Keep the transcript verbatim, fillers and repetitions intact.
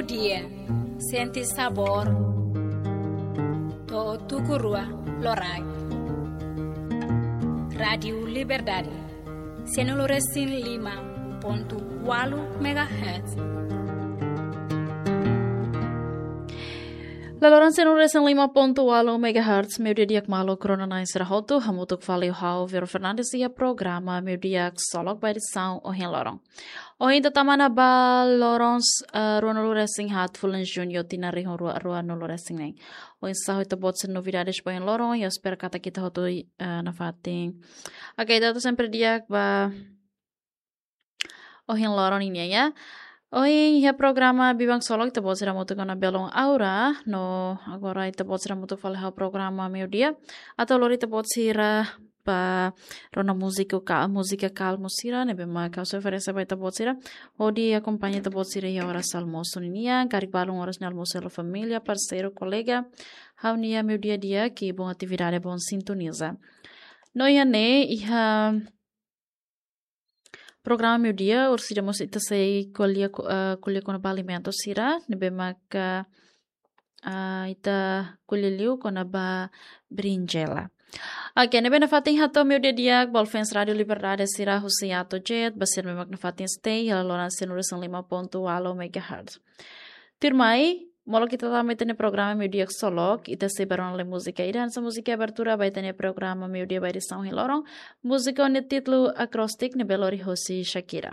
Dia, sente sabór, to'o tuku rua loraik. Rádiu Liberdade, sianulu resin lima pontu ualu megahertz. Laloran sianulu resin lima pontu ualu megahertz, meudia di'ak maluk rona-na'in sira hotu, hamutuk fali ho ha'u Vero Fernandes iha programa Meudia Ksolok ba edisaun ohin loron. Ohin ita tama ona ba loron, eh, ruanulu resin haat fulan Juñu tinan rihun rua ruanulu resin neen. Oinsá ho ita-boot sira novidades ba ohin loron, ha'u espera katak ita hotu, eh, nafatin. Oke, ita hotu sempre di'ak ba ohin loron nian ya. Ohin iha programa Biban Ksolok ita-boot sira hamutuk ona belun Aura, no agora ita-boot sira hamutuk fali ho programa Meudia. Atu lori ita-boot sira ba rona múzika ka-, múzika kalmu sira, ne'ebé mak ha'u sei oferese ba ita-boot sira. Hodi akompaña ita-boot sira iha oras almosu ninian, karik balun oras ne'e almosu ho família, parseiru, kolega. Ha'u-nia meudia di'ak, kibun atividade, bom sintoniza. No iha ne'e, iha programa Meudia, orsida mós ita sei ko'alia ko-, eh, ko'alia kona-ba alimentu sira, ne'ebé maka, ah, ita ko'alia liu kona-ba berinjela. Oke, ne'ebé nafatin hato'o meudia di'ak ba fans Rádiu Liberdade sira husi ato jet, ba sira ne'ebé mak nafatin stay, iha laloran sianulu resin lima pontu ualu megahertz. Tuirmai, molok ita tama ita-nia programa Meudia Ksolok, ita sei bá rona lai múzika ida, hanesan múzika abertura ba ita-nia programa Meudia ba edisaun ohin loron. Múzika ho nia títulu Acrostic ne'ebé lori hosi Shakira.